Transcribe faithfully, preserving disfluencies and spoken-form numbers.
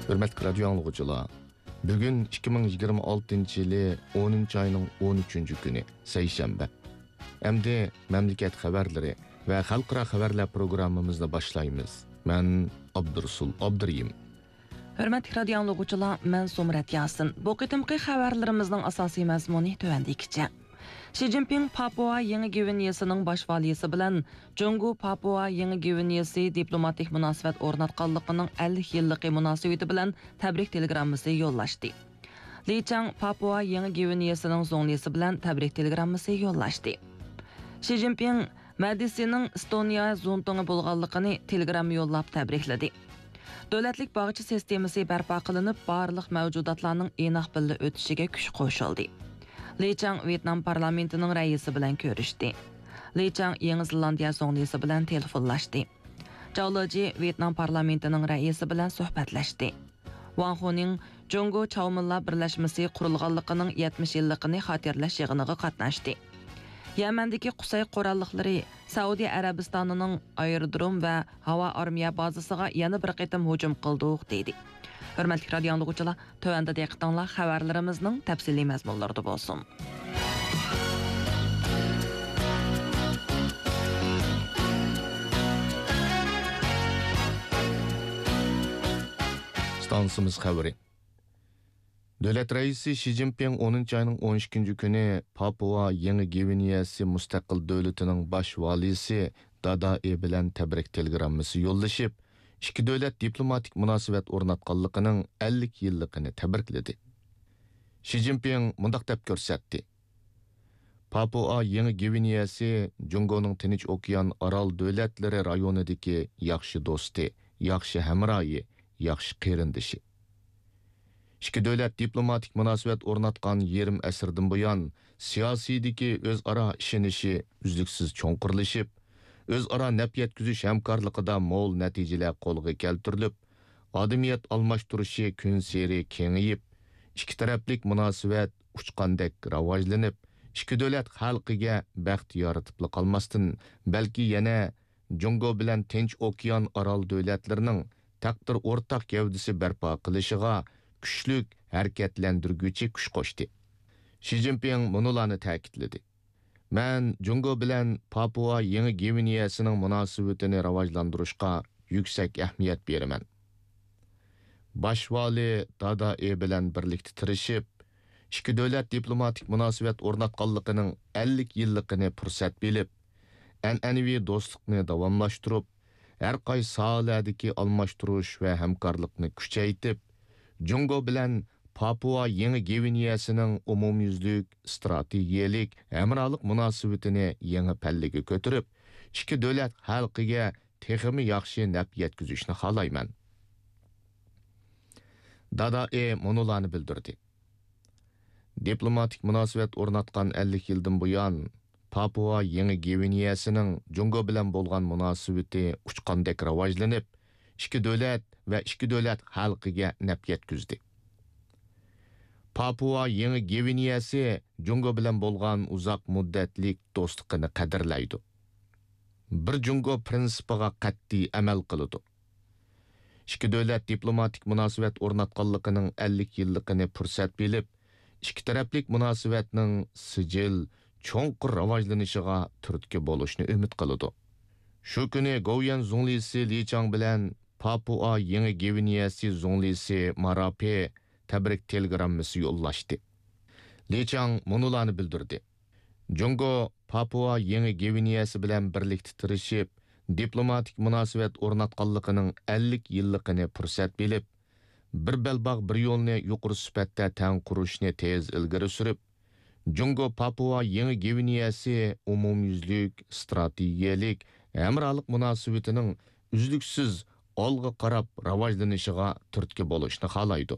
ھۆرمەتلىك رادىيو ئاڭلىغۇچىلار، بۈگۈن ئىككى مىڭ يىگىرمە ئالتىنچى يىلى ئونىنچى ئاينىڭ ئون ئۈچىنچى كۈنى، سەيشەنبە. ئەمدى مەملىكەت خەۋەرلىرى ۋە خەلقئارا خەۋەرلەر پروگراممىمىزنى باشلايمىز. مەن ئابدۇرۇسۇل ئابدۇرېھىم. ھۆرمەتلىك رادىيو ئاڭلىغۇچىلار، مەن سومرەت ياسىن. بۇ قېتىمقى خەۋەرلىرىمىزنىڭ ئاساسىي مەزمۇنى تۆۋەندىكىچە. شى جىنپىڭ پاپۇئا يېڭى گۋىنېيىسىنىڭ باش ۋالىيسى بىلەن جۇڭگو پاپۇئا يېڭى گۋىنېيىسى دىپلوماتىك مۇناسىۋەت ئورناتقانلىقىنىڭ ئەللىك يىللىقى مۇناسىۋىتى بىلەن تەبرىك تېلېگراممىسى يوللاشتى. لى چاڭ پاپۇئا يېڭى گۋىنېيىسىنىڭ زۇڭلىسى بىلەن تەبرىك تېلېگراممىسى يوللاشتى. شى جىنپىڭ مەدىسىنىڭ ئېستونىيە زۇڭتۇڭى بولغانلىقىنى تېلېگرامما يوللاپ تەبرىكلىدى. دۆلەتلىك باغچە سىستېمىسى بەرپا قىلىنىپ، بارلىق مەۋجۇداتلارنىڭ ئىناق بىللە ئۆتۈشىگە كۈچ قوشۇلدى. لى چاڭ ۋيېتنام پارلامېنتىنىڭ رەئىسى بىلەن كۆرۈشتى. لى چاڭ يېڭى زېلاندىيە زۇڭلىسى بىلەن تېلېفونلاشتى. جاۋ لېجى ۋيېتنام پارلامېنتىنىڭ رەئىسى بىلەن سۆھبەتلەشتى. ۋاڭ خۇنىڭ جۇڭگو چاۋمىنلار بىرلەشمىسى قۇرۇلغانلىقىنىڭ يەتمىش يىللىقىنى خاتىرىلەش يىغىنىغا قاتناشتى. يەمەندىكى قۇسەي قوراللىقلىرى سەئۇدى ئەرەبىستانىنىڭ ئايرودروم ۋە ھاۋا ئارمىيە بازىسىغا يەنە بىر قېتىم ھۇجۇم قىلدۇق، دېدى. ھۆرمەتلىك رادىيو ئاڭلىغۇچىلار، تۆۋەندە دىققىتىڭلار خەۋەرلىرىمىزنىڭ تەپسىلىي مەزمۇنلىرىدا بولسۇن. ئىستانسىمىز خەۋىرى. دۆلەت رەئىسى شى جىنپىڭ ئونىنچى ئاينىڭ ئون ئىككىنچى كۈنى پاپۇئا يېڭى گۋىنېيەسى مۇستەقىل دۆلىتىنىڭ باش ۋالىيسى دادا ئې بىلەن تەبرىك تېلېگراممىسى يوللىشىپ، ئىككى دۆلەت دىپلوماتىك مۇناسىۋەت ئورناتقانلىقىنىڭ ئەللىك يىللىقىنى تەبرىكلىدى. شى جىنپىڭ مۇنداق دەپ كۆرسەتتى: پاپۇئا يېڭى گۋىنېيەسى جۇڭگونىڭ تىنچ ئوكيان ئارال دۆلەتلىرى رايونىدىكى ياخشى دوستى، ياخشى ھەمراھى، ياخشى قېرىندىشى. ئىككى دۆلەت دىپلوماتىك مۇناسىۋەت ئورناتقان يېرىم ئەسىردىن بۇيان، سىياسىيدىكى ئۆزئارا ئىشىنىشى ئۈزلۈكسىز چوڭقۇرلىشىپ، ئۆزئارا نەپ يەتكۈزۈش ھەمكارلىقىدا مول نەتىجىلەر قولغا كەلتۈرۈلۈپ، ئادەمىيەت ئالماشتۇرۇشى كۈنسېرى كېڭىيىپ، ئىككى تەرەپلىك مۇناسىۋەت ئۇچقاندەك راۋاجلىنىپ، ئىككى دۆلەت خەلقىگە بەخت يارىتىپلا قالماستىن، بەلكى يەنە جۇڭگو بىلەن تىنچ ئوكيان ئارال دۆلەتلىرىنىڭ تەقدىر ئورتاق گەۋدىسى بەرپا قىلىشىغا كۈچلۈك ھەرىكەتلەندۈرگۈچى كۈچ قوشتى. شى جىنپىڭ مۇنۇلارنى تەكىتلىدى: مەن جۇڭگو بىلەن پاپۇئا يېڭى گۋىنېيەسىنىڭ مۇناسىۋىتىنى راۋاجلاندۇرۇشقا يۈكسەك ئەھمىيەت بېرىمەن. باش ۋالىي دادا ئې بىلەن بىرلىكتە تىرىشىپ، ئىككى دۆلەت دىپلوماتىك مۇناسىۋەت ئورناتقانلىقىنىڭ ئەللىك يىللىقىنى پۇرسەت بىلىپ، ئەنئەنىۋى دوستلۇقنى داۋاملاشتۇرۇپ، ھەر قايسى ساھەلەردىكى ئالماشتۇرۇش ۋە ھەمكارلىقنى كۈچەيتىپ، جۇڭگو بىلەن پاپۇئا يېڭى گۋىنېيەسىنىڭ ئومۇميۈزلۈك ئىستراتېگىيەلىك ھەمراھلىق مۇناسىۋىتىنى يېڭى پەللىگە كۆتۈرۈپ، ئىككى دۆلەت خەلقىگە تېخىمۇ ياخشى نەپ يەتكۈزۈشنى خالايمەن. دادا ئې مۇنۇلارنى بىلدۈردى: دىپلوماتىك مۇناسىۋەت ئورناتقان ئەللىك يىلدىن بۇيان، پاپۇئا يېڭى گۋىنېيەسىنىڭ جۇڭگو بىلەن بولغان مۇناسىۋىتى ئۇچقاندەك راۋاجلىنىپ، ئىككى دۆلەت ۋە ئىككى دۆلەت خەلقىگە نەپ يەتكۈزدى. پاپۇئا يېڭى گۋىنېيەسى جۇڭگو بىلەن بولغان ئۇزاق مۇددەتلىك دوستلۇقىنى قەدىرلەيدۇ. بىر جۇڭگو پىرىنسىپىغا قەتئىي ئەمەل قىلىدۇ. ئىككى دۆلەت دىپلوماتىك مۇناسىۋەت ئورناتقانلىقىنىڭ ئەللىك يىللىقىنى پۇرسەت بىلىپ، ئىككى تەرەپلىك مۇناسىۋەتنىڭ سىجىل، چوڭقۇر راۋاجلىنىشىغا تۈرتكە بولۇشنى ئۈمىد قىلىدۇ. شۇ كۈنى گوۋۇيۈەن زۇڭلىسى لى چاڭ بىلەن پاپۇئا يېڭى گۋىنېيەسى زۇڭلىسى مارا پې تەبرىك تېلېگراممىسى يوللاشتى. لى چاڭ مۇنۇلارنى بىلدۈردى: جۇڭگو پاپۇئا يېڭى گۋىنېيەسى بىلەن بىرلىكتە تىرىشىپ، دىپلوماتىك مۇناسىۋەت ئورناتقانلىقىنىڭ ئەللىك يىللىقىنى پۇرسەت بىلىپ، بىر بەلباغ، بىر يولنى يۇقىرى سۈپەتتە تەڭ قۇرۇشنى تېز ئىلگىرى سۈرۈپ، جۇڭگو پاپۇئا يېڭى گۋىنېيەسى ئومۇميۈزلۈك ئىستراتېگىيەلىك ھەمراھلىق مۇناسىۋىتىنىڭ ئۈزلۈكسىز ئالغا قاراپ راۋاجلىنىشىغا تۈرتكە بولۇشنى خالايدۇ.